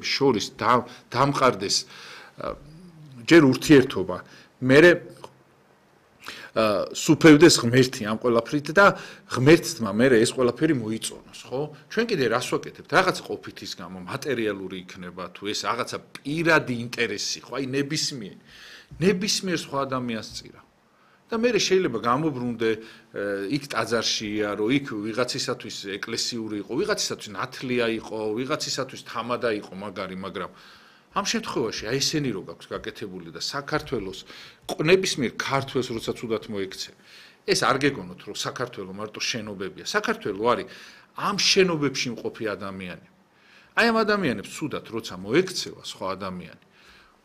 შორის დამყარდეს ჯერ ურთიერთობა, მერე სუფევდეს ღმერთი ამ ყველაფრით და ღმერთმა მერე ეს ყველაფერი მოიწონოს, ხო? ჩვენ კიდე რას ვაკეთებთ? რაღაც ყოფითის გამო, მატერიალური იქნება თუ ეს რაღაცა პირადი ინტერესი, ხო? აი ნებისმიერ სხვა ადამიანს წირა. და მერე შეიძლება გამობრუნდე იქ ტაძარში იარო, იქ ვიღაცისათვის ეკლესიური იყო, ვიღაცისათვის ნათლია იყო, ვიღაცისათვის თამადა იყო მაგარი, მაგრამ ამ შემთხვევაში აი ესენი რო გაქვს გაკეთებული და საქართველოს ნებისმიერ ქართველს როცა თუდად მოექცე. ეს არ გეგონოთ რომ საქართველოს მარტო შენობებია. საქართველოს არის ამ შენობებში მყოფი ადამიანი. აი ამ ადამიანებს თუდად როცა მოექცევა სხვა ადამიანი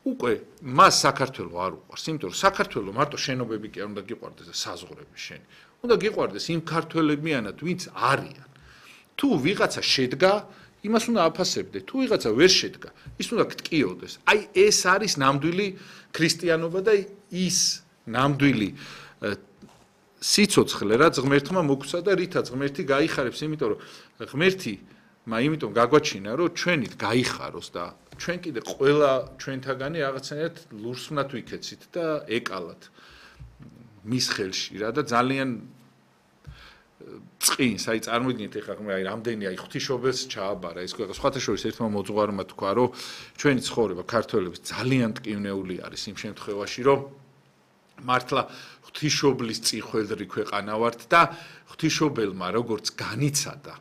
უკვე მას საქართველოს არ უყვარს, იმიტომ რომ საქართველოს მარტო შენობები კი არ უნდა გიყვარდეს და საზღვრები შენი. უნდა გიყვარდეს იმ ქართველებიანად, ვინც არიან. თუ ვიღაცა შედგა, იმას უნდა აფასებდე. თუ ვიღაცა ვერ შედგა, ის უნდა გტკიოდეს. აი ეს არის ნამდვილი ქრისტიანობა და ის ნამდვილი სიცოცხლე, რაც ღმერთმა მოგცა და რითაც ღმერთი გაიხარებს, იმიტომ რომ ღმერთი იმიტომ გაგვაჩინა, რომ ჩვენით გაიხაროს და ჩვენ კიდე ყველა ჩვენთაგანი რაღაცნაირად ლურსმნად ვიქეცით და ეკალათ მის ხელში რა და ძალიან წინს, აი წარმოიდგინეთ ეხლა აი რამდენი აი ღვთისმშობელს ჩააბარა ეს ქვეყანა. სხვათა შორის ერთმა მოძღვარმა თქვა, რომ ჩვენი ცხოვრება ქართველების ძალიან ტკივნეული არის იმ შემთხვევაში, რომ მართლა ღვთისმშობლის წიხვედრი ქვეყანა ვართ და ღვთისმშობელმა როგორც განიცადა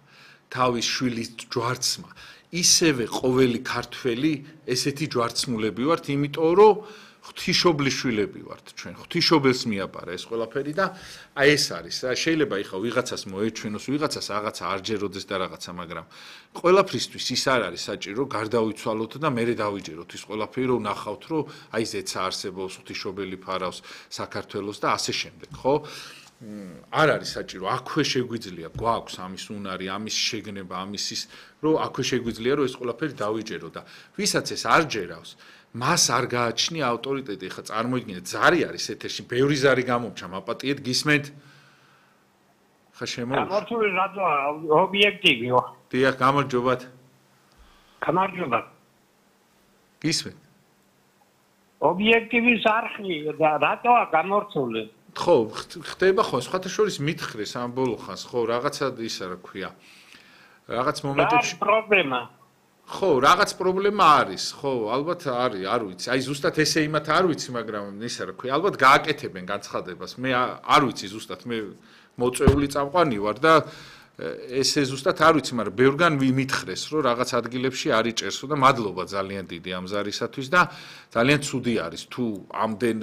თავის შვილის ჯვარცმა, ისევე ყოველი ქართველი ესეთი ჯვარცმულები ვართ, იმიტომ რომ ღვთისმშობლის შვილები ვართ ჩვენ. ღვთისმშობელს მიაბარა ეს ყველაფერი და აი ეს არის. შეიძლება ეხლა ვიღაცას მოეჩვენოს, ვიღაცას რაღაცა არ ჯეროდეს და რაღაცა, მაგრამ ყველაფრისთვის ის არ არის საჭირო გარდავიცვალოთ და მერე დავიჯეროთ ის ყველაფერი, რომ ნახავთ, რომ აი ზეცა არსებობს, ღვთისმშობელი ფარავს საქართველოს და ასე შემდეგ, ხო? არ არის საჭირო, აქვე შეგვიძლია, გვაქვს ამის უნარი, ამის შეგნება, ამის ის, რომ აქვე შეგვიძლია, რომ ეს ყველაფერი დავიჯერო და ვისაც ეს არ ჯერავს, მას არ გააჩნია ავტორიტეტი. ხა წარმოიდგინეთ, ზარი არის ეთერში, ბევრი ზარი გამომჩა, მაპატიეთ, გისმენთ? ხა შემოუშვი. გამორთული რადო ობიექტივიო. დიახ, გამარჯობათ. გამარჯობა. გისმენთ? ობიექტივის არხი და რატოა გამორთული? ხო, ხდება ხო, სხვათა შორის მითხრეს ამ ბოლო ხანს, ხო, რაღაცა ისა რა ქვია. რაღაც მომენტებში პრობლემა. ხო, რაღაც პრობლემა არის, ხო, ალბათ არის, არ ვიცი. აი ზუსტად ესე იმათ არ ვიცი, მაგრამ ისა რა ქვია, ალბათ გააკეთებენ განცხადებას. მე არ ვიცი ზუსტად, მე მოწვეული წამყვანი ვარ და ესე ზუსტად არ ვიცი, მაგრამ ბევრგან მითხრეს, რომ რაღაც ადგილებში არ იჭერსო და მადლობა ძალიან დიდი ამ ზარისათვის და ძალიან ცუდი არის თუ ამდენ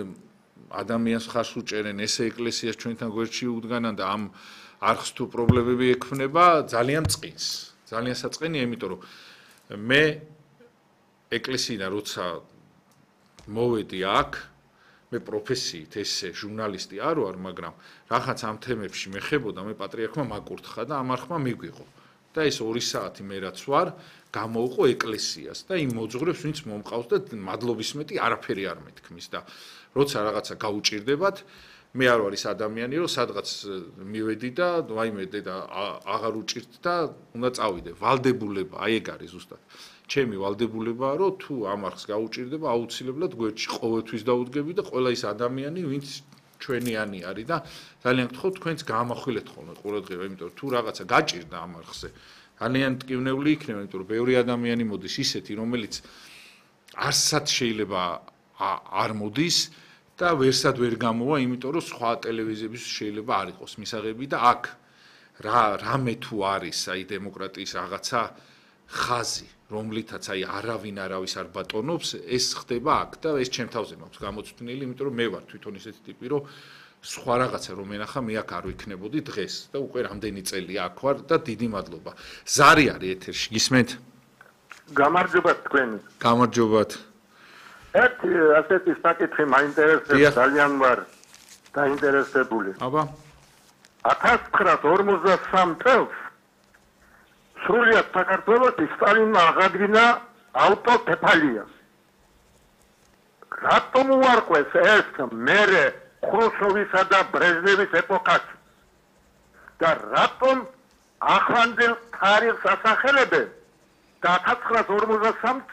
ადამიანს ხარს უჭერენ ესე ეკლესიას ჩვენთან გვერდში უდგანან და ამ არხს თუ პრობლემები ექმნება ძალიან წყინს. ძალიან საწყენია, იმიტომ რომ მე ეკლესიიდან როცა მოვედი აქ, მე პროფესიით ესე ჟურნალისტი არ ვარ, მაგრამ რაღაც ამ თემებში მეხებოდა, მე პატრიარქმა მაკურთხა და ამ არხმა მიგვიღო. და ეს 2 საათი მე რაც ვარ, გამოუყო ეკლესიას და იმ მოძღვრებს, ვინც მომყავს და მადლობის მეტი არაფერი არ მეთქმის და როცა რაღაცა გაუჭირდებათ, მე არ ვარ ის ადამიანი, რომ სადღაც მივედი და ვაიმე და აღარ უჭირთ და უნდა წავიდე. ვალდებულება, აი ეგ არის ზუსტად. ჩემი ვალდებულებაა, რომ თუ ამ არხს გაუჭირდება, აუცილებლად გვერდში ყოველთვის დაუდგები და ყველა ის ადამიანი, ვინც ჩვენიანი არის და ძალიან გთხოვთ, თქვენც გაამახვილეთ ხოლმე ყურადღება, იმიტომ რომ თუ რაღაცა გაჭირდა ამ არხზე, ძალიან ტკივნეული იქნება, იმიტომ რომ ბევრი ადამიანი მოდის ისეთი, რომელიც არსად შეიძლება არ მოდის და ვერსად ვერ გამოვა, იმიტომ რომ სხვა ტელევიზიების შეიძლება არ იყოს მისაღები და აქ რამე თუ არის აი დემოკრატიის რაღაცა ხაზი, რომლითაც აი არავინ არავის არ ბატონობს, ეს ხდება აქ და ეს ჩემ თავზე მაქვს გამოცდნილი, იმიტომ რომ მე ვარ თვითონ ისეთი ტიპი, რომ სხვა რაღაცა რომ ენახა, მე აქ არ ვიქნებოდი დღეს და უკვე რამდენი წელი აქ ვარ და დიდი მადლობა. ზარი არის ეთერში, გისმენთ? გამარჯობათ თქვენ. გამარჯობათ. ერთი ასეთი საკითხი მაინტერესებს, ძალიან ვარ დაინტერესებული. აბა 1953 წელს სრულიად საქართველოში სტალინმა აღადგინა ავტოკეფალიას. რატომ უარყვეს ეს მერე ხრუშჩოვისა და ბრეჟნევის ეპოქაში? და რატომ ახლანდელ თარიღს ასახელებენ და 1953 წელს